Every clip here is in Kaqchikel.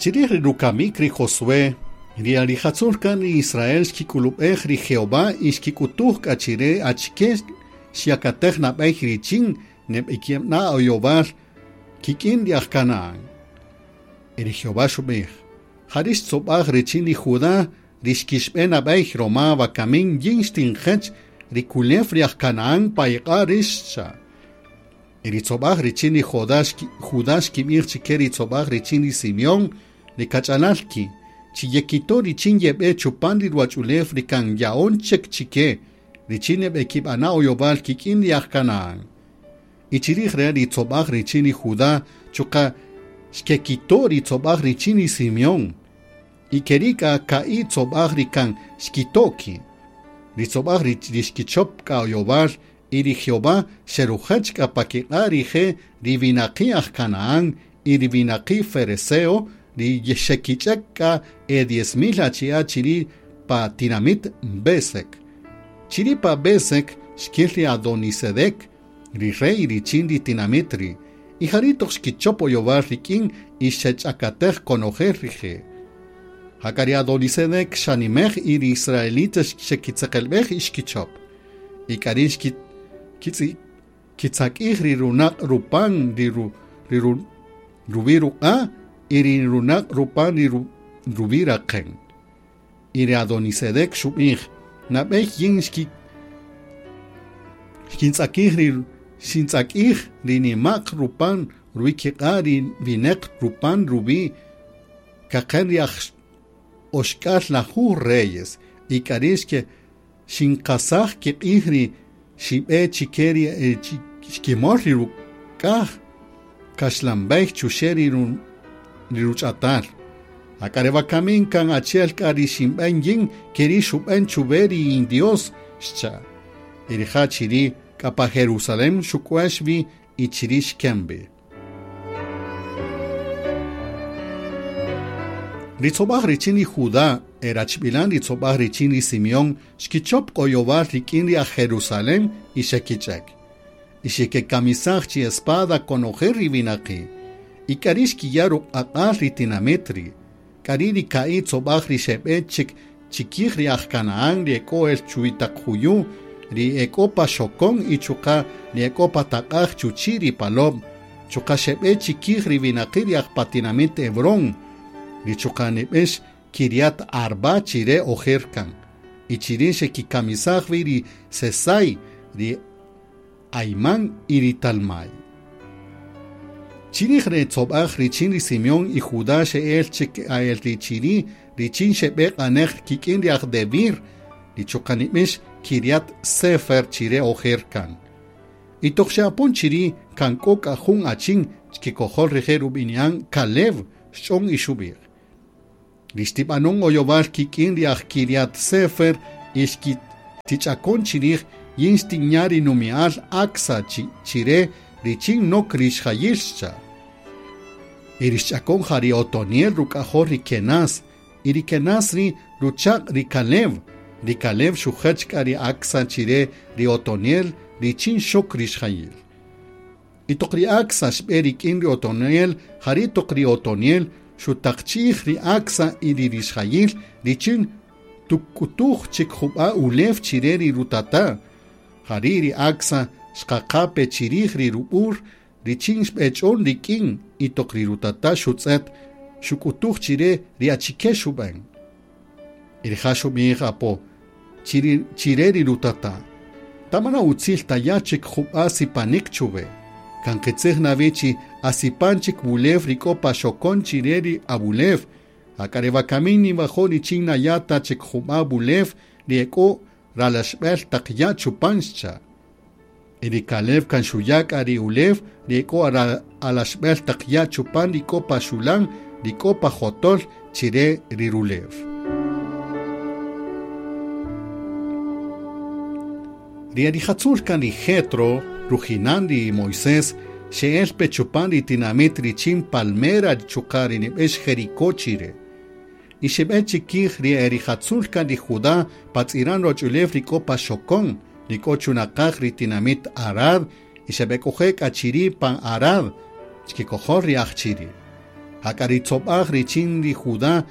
Chirij ri rukamik ri Josué, ri arijatzul kan ri Israel xkik'ulub'ej ri Jehová y xkik'utuj k'a chire achike xyakatej nab'ey richin neb'ikib'na oyowal kik'in ri aj Canaán. Y ri Jehová xub'ij: Jari' xtzob'aj richin ri Judá ri xkixb'e nab'ey roma wakamin yin xtinjech ri kulew ri aj Canaán pa iq'a' rix, xcha'. Y ri tzob'aj richin ri Judá xkib'ij chike ri tzob'aj richin ri Simeón ri kach'alal ki', chi yekito' richin yeb'e chupan ri ruwach'ulew ri kan ya'on chik chike, richin neb'ekib'ana' oyowal kik'in ri aj Canaán. Y chirij re' ri tzob'aj richin ri Judá chuqa' xkekito' ri tzob'aj richin ri Simeón. Y keri' k'a ka'i' tzob'aj ri kan xkito' ki'. Ri tzob'aj ri xkichop k'a oyowal y ri Jehová xerujech k'a pa kiq'a' rije' ri winaqi' aj Canaán y ri winaqi' Fereseo ri xekich'ek k'a e 10,000 achi'a' chiri' pa tinamit Besek. Chiri' pa Besek xkil ri Adonisedec, ri rey richin ri tinamit ri', y jari' toq xkichop oyowal rik'in y xech'akatej konojel rije'. Jak'a ri Adonisedec xanimej y ri israelitas xekitzeqelb'ej y xkichop. Y k'ari' xkitzak'ij ri runaq' rupan ri ruwi' ruq'a' y ri runaq' rupan ri ruwi' raqen. Y ri Adonisedec xub'ij: Nab'ey yin xkintzak'ij ri nima'q rupan ruwi' kiq'a' ri wineq rupan ruwi' kaqen ri aj oxk'al lajuj reyes y k'ari' xinqasaj kiq'ij ri xib'e chike ri xkimol ri ruk'aj kaxlanb'ey chuxe' ri ruch'atal. Jak'a re wakamin kan achi'el k'a ri xinb'en yin keri' xub'en chuwe ri in-Dios, xcha'. Y rija' chiri' k'a pa Jerusalén xuk'uex wi y chiri' xken wi. Ri tzob'aj richin ri Judá erachb'ilan ri tzob'aj richin ri Simeón xkichop oyowal rik'in ri aj Jerusalén y xekich'ek. Y xekekamisaj chi espada konojel ri winaqi'. Y k'ari' xkiya' ruq'aq'al ri tinamit ri'. K'ari' ri ka'i' tzob'aj ri xeb'e chik chikij ri aj Canaán ri ek'o el chuwi taq juyu', ri ek'o pa xokon y chuqa' ri ek'o pa taq'aj chuchi' ri palob', chuqa' xeb'e chikij ri winaqi' ri aj pa tinamit Hebrón, ri chuqa' nib'ex Kiriat Arba chire ojer kan. Y chiri' xekikamisaj wi ri Sesai, ri Aimán y ri Talmai. Chirij re tzob'aj richin ri Simeón y Judá xe'el chik ael ri chiri' richin xeb'e q'anej kik'in ri aj Debir, ri chuqa' nib'ex Kiriat Sefer chire ojer kan. Y toq xe'apon chiri' kan k'o k'a jun achin chkikojol rije' rub'ini'an Caleb xch'on y xub'ij: Ri xtib'anon oyowal kik'in ri aj Kiriat Sefer y xkitich'akon chirij yin xtinya' ri numi'al Acsa chire richin nok rixjayil, xcha'. Y ri xch'akon ja ri Otoniel ruk'ajol ri Kenaz, y ri Kenaz ri ruchaq' ri Caleb. Ri Caleb xujech k'a ri Acsa chire ri Otoniel richin xok rixjayil. Y toq ri Acsa xb'e rik'in ri Otoniel, jari' toq ri Otoniel xutaqchij ri Acsa y ri rixjayil richin tuk'utuj chik jub'a ulew chire ri rutata'. Jari' ri Acsa xqaqape chirij ri rub'ur richin xb'ech'on rik'in y toq ri rutata' xutz'et xuk'utuj chire ri achike xub'en. Y rija' xub'ij apo chire ri rutata': Tamana utzil taya' chik jub'a sipanik chuwe. Kan qitzij nawi chi asipan chik wulew ri k'o pa xokon chire ri awulew. Jak'a re wakamin niwajo' richin naya' ta chik jub'a wulew ri ek'o ralaxb'el taq ya' chupan, xcha'. Y ri Caleb kan xuya' k'a ri ulew ri ek'o alaxb'el taq ya' chupan ri k'o pa xulan ri k'o pa jotol chire ri rulew. Ri erijatzul kan ri Jetro, rujinan ri Moisés, xe'el pe chupan ri tinamit richin Palmera chuqa' ri nib'ex Jericó chire. Y xeb'e chikij ri erijatzul kan ri Judá patz'iran roch'ulew ri k'o pa xokon, ri k'o chunaqaj ri tinamit Arad, y xeb'ek'oje' k'a chiri' pan Arad, chkikojol ri aj chiri'. Jak'a ri tzobaj richin ri Judá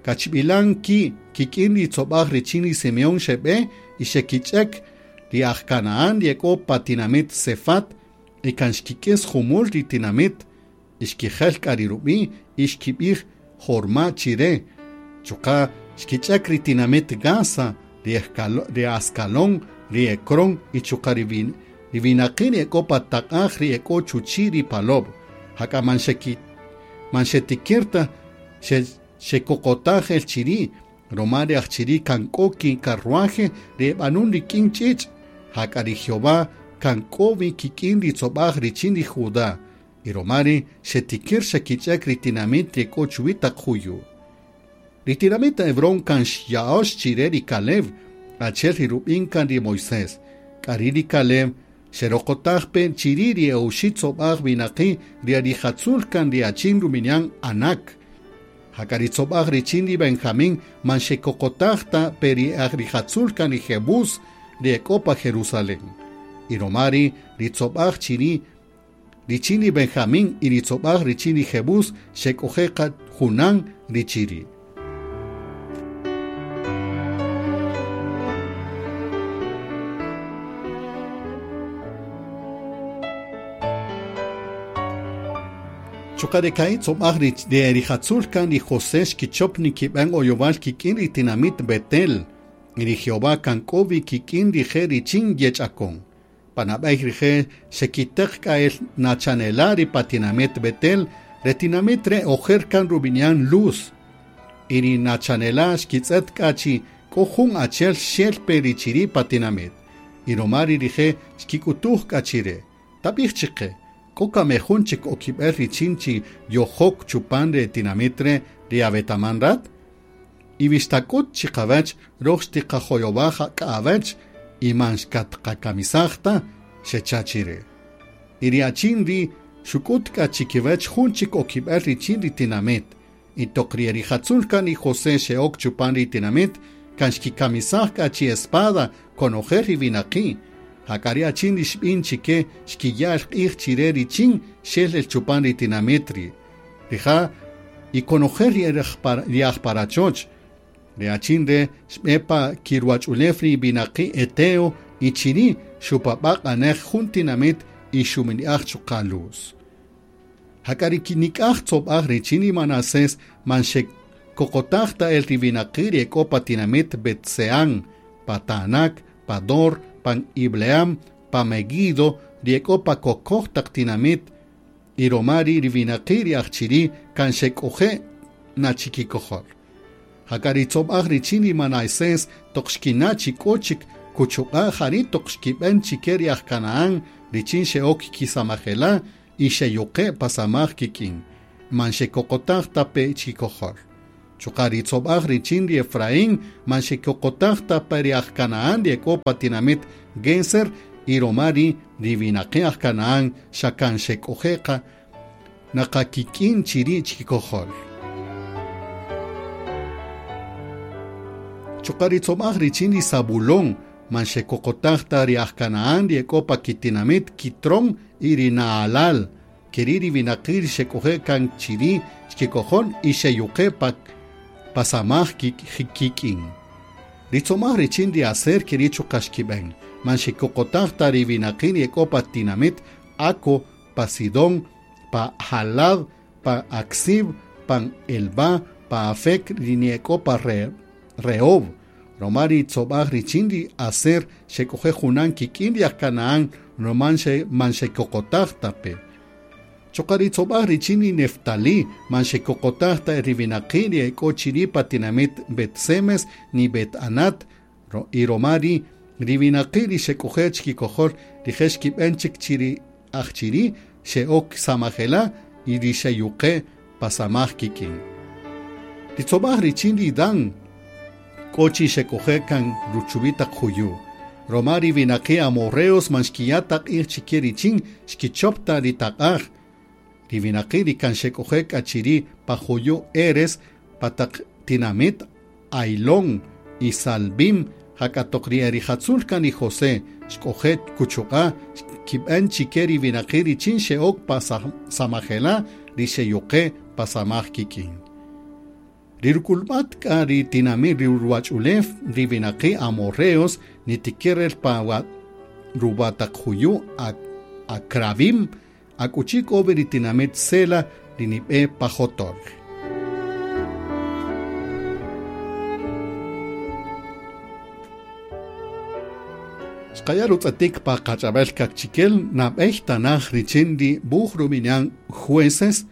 kachb'ilan ki kik'in ri tzobaj richin ri Simeón xeb'e y xekich'ek ri aj Canaán ri ek'o pa tinamit Sefat y kan xkik'is jumul ri tinamit y xkijel k'a ri rub'i' y xkib'ij Jorma chire. Chuqa' xkich'ek ri tinamit Gaza, ri Ascalón, ri Ecrón y chuqa' ri winaqi' ri ek'o pa taq'aj ri ek'o chuchi' ri palob. Jak'a man xetikir ta xekoqotaj el chiri', roma ri aj chiri' kan k'o kikarruaje ri eb'anun rik'in ch'ich'. Jak'a ri Jehová kan k'o wi kik'in ri tzobaj richin ri Judá. Y romari xetikir xekich'ek ri tinamit ri ek'o chuwi taq juyu'. Ri tinamit Hebrón kan xya'ox chire ri Caleb, achi'el ri rub'in kan ri Moisés. K'ari ri Caleb xeroqotaj pe chiri' ri e'oxi' tzobaj winaqi' ri arijatzul kan ri achin ruminyan Anak. Jak'a ri tzobaj richin ri Benjamín man xekoqotaj ta pe ri arijatzul kan ri Jebús ri ek'o pa Jerusalén. Y romari ri tzobaj chiri' richin ri Benjamín y ri tzobaj richin ri Jebús xek'ojeqa junan ri chiri'. Chuqa' ri ka'i' tzobaj ri rijatzul kan ri José xkichop nikib'an oyowal kik'in ri tinamit Betel. Y ri Jehová kan k'o wi kik'in rije' richin yech'akon. Panab'ey rije' xekiteq k'a el nachanela' ri pa tinamit Betel, re tinamit re ojer kan rub'ini'an Luz. Y ri nachanela' xkitz'et k'a chi k'o jun achi'el xel pe ri chiri' pa tinamit. Y roma ri rije' xkik'utuj k'a chire. Tab'ij chiqe, k'o kamejun chik okib'el richin chi yojok chupan re tinamit re ri awetaman rat? Y wixtak'ut chiqawach roj xtiqajoyowaj k'awach y man xkatqakamisaj ta xecha chire. Y ri achin ri xuk'ut k'a chikiwach jun chik okib'el richin ri tinamit. Y toq ri rijatzul kan ri José xe'ok chupan ri tinamit kan xkikamisaj k'a chi espada konojel ri winaqi'. Jak'a ri achin ri xb'in chike xkiya' el q'ij chire richin xel el chupan ri tinamit ri. Rija' y konojel ri aj parachoch. Ri achin re xb'e pa kiruwach'ulew ri winaqi' Eteo y chiri' xupab'a' q'anej jun tinamit y xumini'aj chuqa' Luz. Jak'a ri nik'aj tzobaj richin ri Manasés man xekoqotaj ta el ri winaqi' ri ek'o pa tinamit Betseán, pa Taanac, pa Dor, pan Ibleam, pa Meguido, ri ek'o pa kokoj taq tinamit, y romari ri winaqi' ri aj chiri' kan xek'oje' na chikikojol. Jak'a ri tzobaj richin ri Manasés toq xkina' chi k'o chik kuchuq'a' jari' toq xkib'en chike ri aj Canaán richin xe'ok kisamajela' y xeyuqe' pa samaj kik'in, man xekoqotaj ta pe chikojol. Chuqa' ri tzobaj richin ri Efraín man xekoqotaj ta pe ri aj Canaán ri ek'o pa tinamit Geser y romari ri winaqi' aj Canaán xa kan xek'oje'qa naqakik'in chiri' chikojol. Chuqa' ri tzobaj richin ri Zabulón man xekoqotaj ta ri aj Canaán ri ek'o pa kitinamit Kitron y ri Naalal, keri' ri winaqi' ri xek'oje' kan chiri' chikikojol y xeyuqe' pa samaj kik'in. Ri tzomaj richin ri Aser keri' chuqa' xkib'en, man xekoqotaj ta ri winaqi' ri ek'o pa tinamit Aco, pa Sidón, pa Halab, pa Aksib, pa Elba, pa Afec, ri ek'o pa Rehob. Romari tzobaj richin ri Aser xek'oje' junan kik'in ri aj Canaán roman man xekoqotaj ta pe. Chuqa' ri tzobaj richin ri Neftalí man xekoqotaj ta ri winaqi' ri ek'o chiri' pa tinamit Bet-Semes ni Bet-Anat y romari ri winaqi' ri xek'oje' chikikojol rije' xkib'en chik chiri aj chiri' xe'ok samajela' y ri xeyuqe' pa samaj kik'in. Ri tzobaj richin ri Dan k'o chi xek'oje' kan ruchuwi' taq juyu'. Romari winaqi' amorreos man xkiya' taq q'ij chike richin xkichop ta ri taq'aj. Ri winaqi' ri kan xek'oje' k'a chiri' pa juyu' Eres pa taq tinamit Ailón y Salbim jak'a toq ri erijatzul kan ri José xk'oje' kuchuq'a' xkib'en chike ri winaqi' richin xe'ok pa samajela' ri xeyuqe' Pa samaj kik'in. Ri rukulb'at k'a ri tinamit ri ruwach'ulew ri winaqi' amorreos nitiker el pa ruwa taq juyu' Acrabim, akuchi k'o wi ri tinamit Sela ri nib'e pa jotol. Xqaya' rutz'etik pa qach'ab'el kaqchikel nab'ey tanaj richin ri wuj rub'ini'an Jueces.